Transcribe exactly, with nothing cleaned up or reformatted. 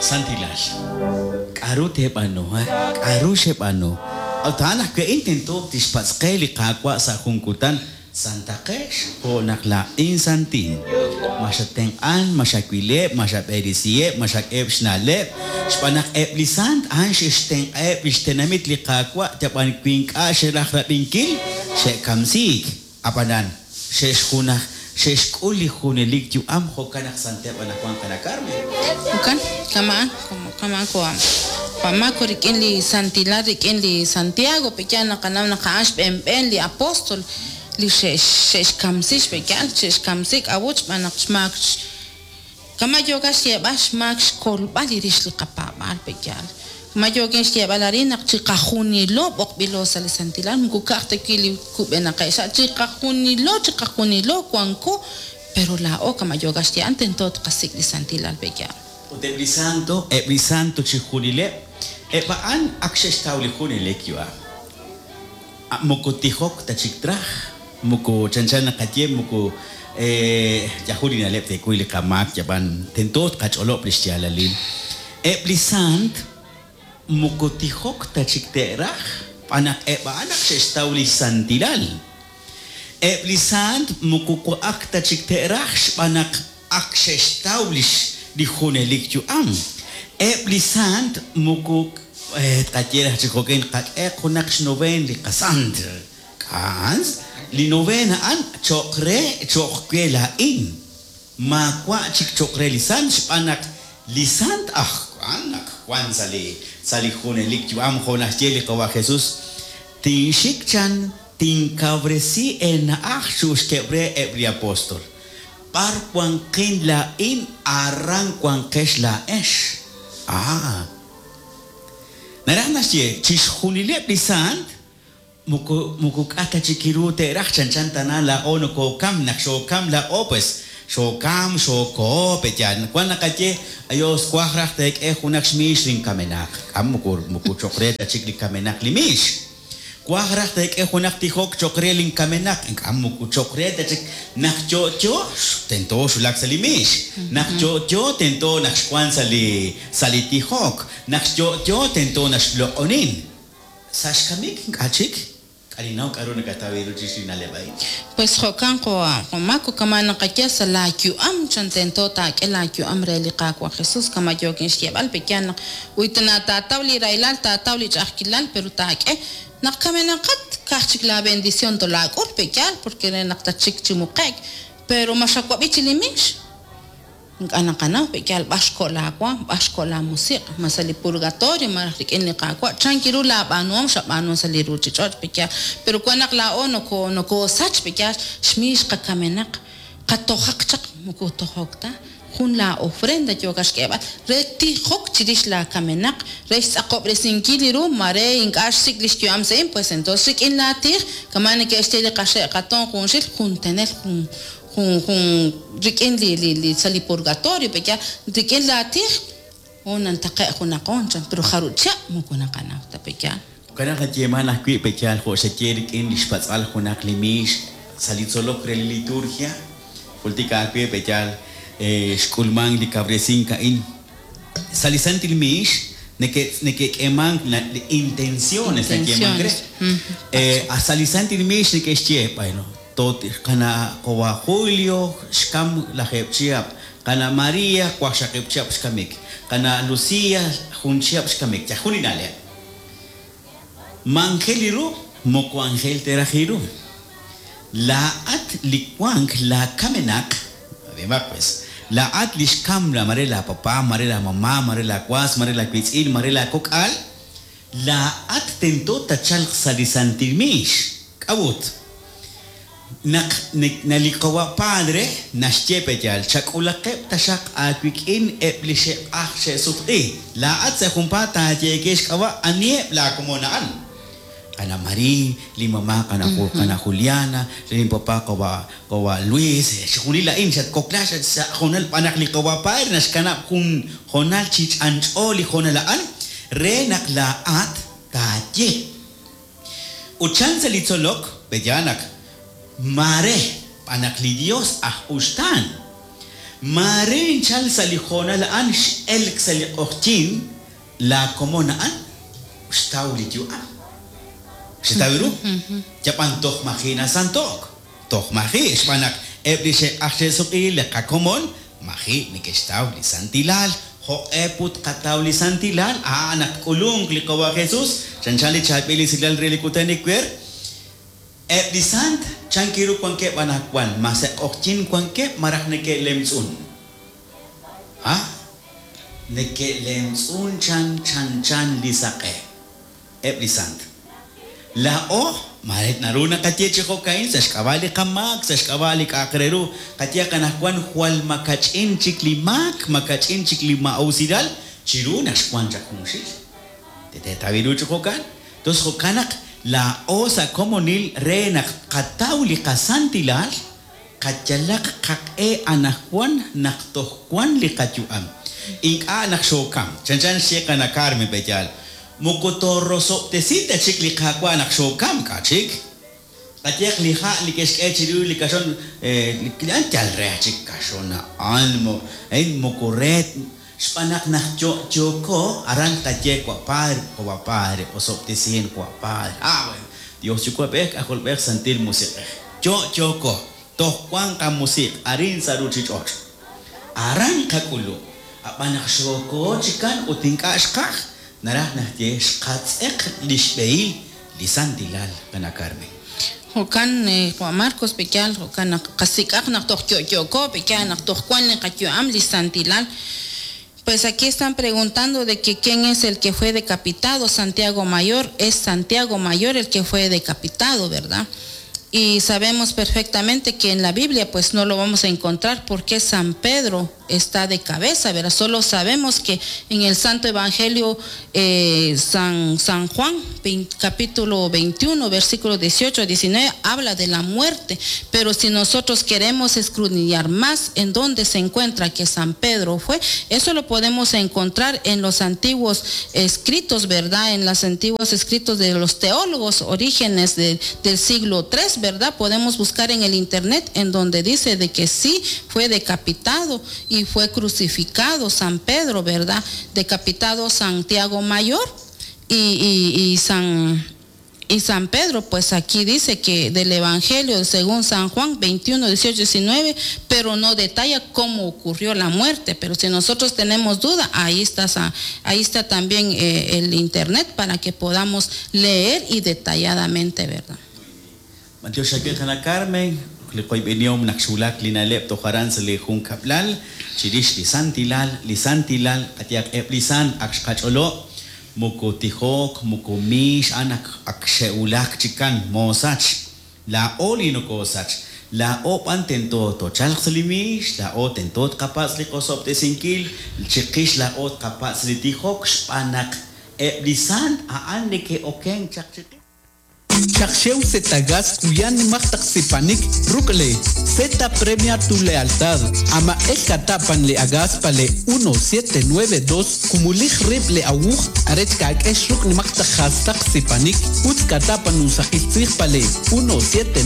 Santilal. K'aru teeb'aanu, k'aru xeb'aanu. Ut a'an ajwi' a'in tento tixpatz' qe li Qaawa' sa' jun kutan, santaqex jo' naq laa'in santin. Ma xatenq'an, ma xawileb', ma xab'eresiheb', ma xak'eheb' xna'leb', xb'aan naq eb' li sant a'an xe'xtenq'aheb' li xtenamit li Qaawa' yab'an wi ink'a' xeraj rab'inkil, xe'kamsiik. Ab'anan xe'xjunaj xe'xk'ul li junelik yu'am jo'kan naq santeb' anaqwan qana' Carmen. Jo'kan, kama'an, kama'an ko Juan Marco rik'in li santilal rik'in li Santiago pe'yaal naqanaw naq a'an xb'eenb'een li apóstol li xe'xkamsi xpe'yaal xe'xkamsi k'a'ut xb'aan naq xmaak kama' yooka xyeeb'al xmaak xkolb'al li rix li qapaab'aal pe'yaal kama' yookin xyeeb'al arin naq chiqajunilo b'oqb'ilo sa' li santilal moko ka'aj ta wi' li kub'enaqeb' xa' chiqajunilo chiqajunilo wanko pero laa'o kama' yooka xyeeb'al tento tqasik' li santilal pe'yaal. Ut eb' li santo, eb' li santo chi junileb', eb' a'an ak xe'xtaw li junelik yu'am. Moko tijok ta chik traj, moko chanchan naqaye, moko yajun li na'leb' teekuy li qamaak yab'an tento tqach'olob' li xyaalalil. Eb' li sant moko tijok ta chik te'raj, xb'aan naq eb' a'an ak xe'xtaw li xsantilal. Eb' li sant moko wa'ak ta chik te'raj, xb'aan naq ak xe'xtaw li li junelik yu'am. Eb' li sant moko tqaye raj chi jo'kan qak'e junaq xnoveen li qasant. K'a'an li novena a'an cho'q re cho'q we laa'in. Maawa' chik cho'q re li sant xb'aan naq li sant aj a'an naq wan sa' li sa' li junelik yu'am jo' naxye li Qawa' Jesus. Tinxik chan tinkawresi eena'aj xuxkeb' re eb' li apóstol. B'ar wanqin laa'in aran wanqex laa'ex. Ah. Naraj naxye chixjunileb' li sant moko moko k'a ta chik ru te'raj chanchan tana laa'o nokokam naq xokam laa'o pues xokam xoko pe'yaal wan naqaye ayos waj raj teek'e junaq xmiix linkamenaq k'am moko moko cho'q re ta chik li kamenaq li miix. Waj raj teek'e junaq tijok cho'q re linkamenaq ink'a' moko cho'q re ta chik naq yo'yo tento xulak sa' li miix. Naq yo'yo tento naq xwan sa' li sa' li tijok. Naq yo'yo tento naq xloq'onin. Sa' xkamik ink'a' chik. K'alinaw k'aru nakataw ru chirix li na'leb' a'in. Pues jo'kan jo Juan Marco kama' naqaye sa' laayu'am chan tento taak'e laayu'am re li Qaawa' Jesus kama' yookin xyeeb'al pe'yaal naq uy tana taataw li rahilal taataw li ch'a'ajkilal pero taak'e naq kamenaqat ka'aj chik la bendición tolaak'ul pe'yaal porque re naq tatxik chi muqe'k pero ma xawab'i chi li miix ink'a' naqanaw pe'yaal b'ar xko' laawaam b'ar xko' laamusiq' ma sa' li purgatorio malaj rik'in li Qaawa' chan kiru laab'aanuhom xab'aanu sa' li ruuchich'och' pe'yaal pero wan naq laa'o noko nokosach pe'yaal xmiix qakamenaq qatojaq chaq moko tojok ta jun la ofrenda yooka xk'eeb'al re tijok chirix laakamenaq re xtz'aqob'resinkil li ru ma re ink'a' xsik' li xyu'am sa'in pues entonces rik'in laatij kama' neke'xye li qaxe' qatoon junxil jun tenel jun jun jun rik'in li li li sa' li purgatorio pe'yaal rik'in laatij o nantaqe' junaqoon chan pero jarub' chihab' moko naqanaw ta pe'yaal. Jo'kan naq nayeeman ajwi' pe'yaal jo' xaye rik'in li xpatz'al junaq li miix sa' li tzolok re li liturgia. Jultika ajwi' pe'yaal xk'ulmank li kawresink a'in. Sa' li santil miix neke' neke'k'eemank li intenciones nayeemank re. Sa' li santil miix neke'xye, bueno, qana' qawa' Julio xkam lajeeb' chihab', qana' Maria waqxaqib' chihab' xkamik, qana' Lucia jun chihab' xkamik. Yajun li na'leb'. Ma anjel li ru, moko anjel teraj li ru. Laa'at li wank laakamenaq, además pues, laa'at li xkam la mare la papá, mare la mamá, mare la was, mare la wiitz'in, mare la kok'al, laa'at tento tachalq sa' li santil miix. K'a'ut. Naq li qawa' padre naxye pe'yaal chak'ulaqeb' taxaq aawik'in eb' li xe'q'aj xe'sutq'i. Laa'at sa' junpaat taayeeke xk'ab'a' aniheb' laakomon a'an. Qana' Marí, li mamá qana' qana' Juliana, li papá qawa' qawa' Luis, chixjunil a'in xatkokla sa' hoonal b'an naq li qawa' padre naxkanab' jun hoonal chi ch'anch'o li hoonal a'an re naq laa'at taaye. Ut chan sa' li tzolok pe'yaal naq mare b'an naq li Dios aj uxtaan. Maare nchal sa' li hoonal a'an x'elk sa' li q'oqyink laa komon a'an xtaw li yu'am. Xtaw ru? Yab'an toj maji' nasanto'k. Toj maji' xb'aan naq eb' li xe'q'aj xe'suq'i li qakomon maji' neke'xtaw li santilal. Jo'q'e put qataw li santilal a'an naq k'ulunk li Qawa' Jesus chanchan li chaab'il esilal re li kutan iwer. Eb' li sant chan kiru wankeb' anaqwan ma sa' q'oqyink wankeb' malaj neke'lemtz'un. Ha? Neke'lemtz'un chan chan chan li saq'e. Eb' li sant. Laa'o mare naru naqaye chi jo'ka'in sa' xk'ab'a' li qamaak, sa' xk'ab'a' li k'a'aq re ru. Qaye qanaqwan jwal makach'in chik li maak, makach'in chik li ma'usilal, chiru naq xwan chaq junxil. Teteetawi ru chi jo'kan. Tos jo'kan naq laa'o sa' komonil re naq qataw li qasantilal, qayalaq qaq'e anaqwan naq toj wan li qayu'am. Ink'a' naq xookam. Chanchan xye qana Carmen Beyal. Moko torrosob'tesi ta chik li Qaawa' naq xookam k'a chik. Qayeq li ha' li ke'xk'e chiru li kaxon, eh, li an yal re chik kaxon a'an, mo, eh, moko re xb'aan naq naq yo'yooko, aran qaye wa Padre, wa Padre, osob'tesien wa Padre. Ah, bueno. Dios yuwa'b'ej, k'ajolb'ej, Santil Musiq'ej. Yo'yooko, toj wan qamusiq' arin sa' ruchich'och'. Aran qak'ulu. Ab'an naq xooko chikan ut ink'a' xqaj, naraj naq ye xqatz'eq li xb'ehil li santilal qana Carmen. Jo'kan eh, Juan Marcos pekyal jo'kan naq qasik'aq naq toj yo'yooko pekyal naq toj wan li qayu'am li santilal. Pues aquí están preguntando de que quién es el que fue decapitado, Santiago Mayor, es Santiago Mayor el que fue decapitado, ¿verdad? Y sabemos perfectamente que en la Biblia pues no lo vamos a encontrar porque San Pedro está de cabeza, ¿verdad? Solo sabemos que en el Santo Evangelio eh, San, San Juan, capítulo veintiuno, versículo dieciocho a diecinueve, habla de la muerte. Pero si nosotros queremos escudriñar más en dónde se encuentra que San Pedro fue, eso lo podemos encontrar en los antiguos escritos, ¿verdad? En los antiguos escritos de los teólogos, orígenes de, del siglo tres, ¿verdad? Podemos buscar en el internet en donde dice de que sí fue decapitado y fue crucificado San Pedro, ¿verdad? Decapitado Santiago Mayor y, y, y San, y San Pedro, pues aquí dice que del Evangelio según San Juan veintiuno, dieciocho, diecinueve, pero no detalla cómo ocurrió la muerte. Pero si nosotros tenemos duda, ahí está, ahí está también eh, el internet para que podamos leer y detalladamente, ¿verdad? Mateo Shakir Jana Carmen, li qoyb'enihom naq xwulak li na'leb' tojaran sa' li jun kab'lal, chirix li santilal, li santilal, qatiaq eb' li san ak xqach'olo', moko tijok, moko mix, an ak, ak xe'wulak chikan, moosach, laa'o li nokoosach, laa'o b'an tento tochalq sa' li mix, laa'o tento tqapatz' li qosob'tesinkil, chiqix laa'o tqapatz' li tijok, xb'aan naq eb' li sant a'an neke'okenk chaq chiqix. Chakxew Zetagas kuyan nimaqtaq sipanik rukle Z premia tu lealtad ama el katapan le agas pale uno siete nueve dos kumulij rib le awuj arech ka'k'ex ruk nimaqtaq jastaq sipanik utz katapan usaqil tzij pale uno siete